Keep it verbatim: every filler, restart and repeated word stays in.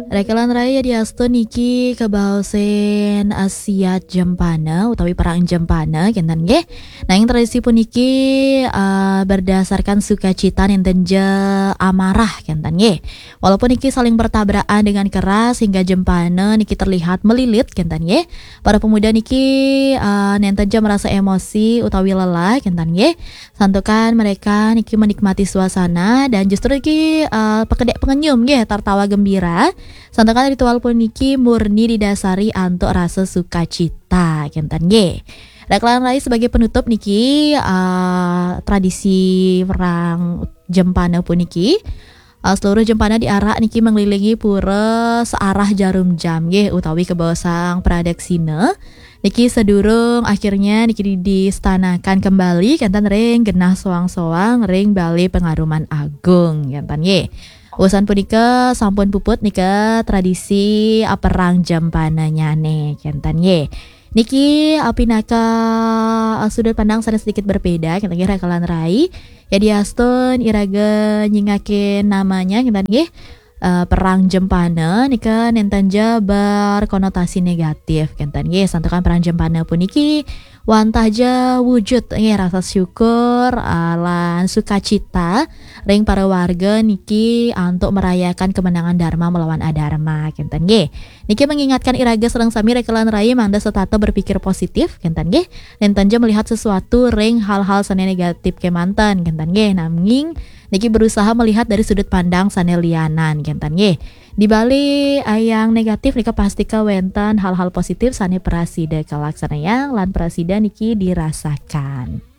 Rekelan rai, yadiastu niki kabaosan asiat jempana utawi perang jempana, kenten nggih. Nanging tradisi puniki, eh, berdasarkan sukacita, nenten ja amarah, kenten nggih. Walaupun niki saling bertabrakan dengan keras hingga jempana niki terlihat melilit, kenten nggih. Para pemuda niki, eh, nenten ja merasa emosi utawi lelah, kenten nggih. Santukan mereka niki menikmati suasana dan justru niki, eh, pekedek pengenyum nggih, tertawa gembira. Santukan ritual puniki murni didasari antuk rasa sukacita, kenten nggih. Rekelan rai, sebagai penutup niki, eh, tradisi perang jempana puniki, eh, seluruh jempana diarak niki mengelilingi pura searah jarum jam nggih, utawi kabaosang pradaksina. Niki sedurung akhirnya niki di-, distanakan kembali kenten ring genah soang-soang ring Balai Pengaruman Agung, kenten nggih. Usan punika sampun puput nika tradisi, ah, perang jempananyane, kenten nggih. Niki, ah, pinaka, ah, sudut pandang sane sedikit berbeda, kenten nggih, rekelan rai. Yadiastun iraga nyingakin namanya, kenten nggih. Eh, perang jempana nika nenten ja berkonotasi negatif, kenten nggih. Santukan perang jempana puniki wantah ja wujud nggih rasa syukur, eh, lan sukacita ring para warga niki antuk merayakan kemenangan Dharma melawan Adharma, kenten nggih. Niki mengingatkan iraga sareng sami rekelan rai mangda setata berpikir positif, kenten nggih. Nenten ja melihat sesuatu ring hal-hal sane negatif kemanten, kenten nggih. Nanging niki berusaha melihat dari sudut pandang sane lianan, kenten nggih. Di balik ayang negatif nika pastika wenten hal-hal positif sane prasida kalaksanayang lan prasida niki dirasakan.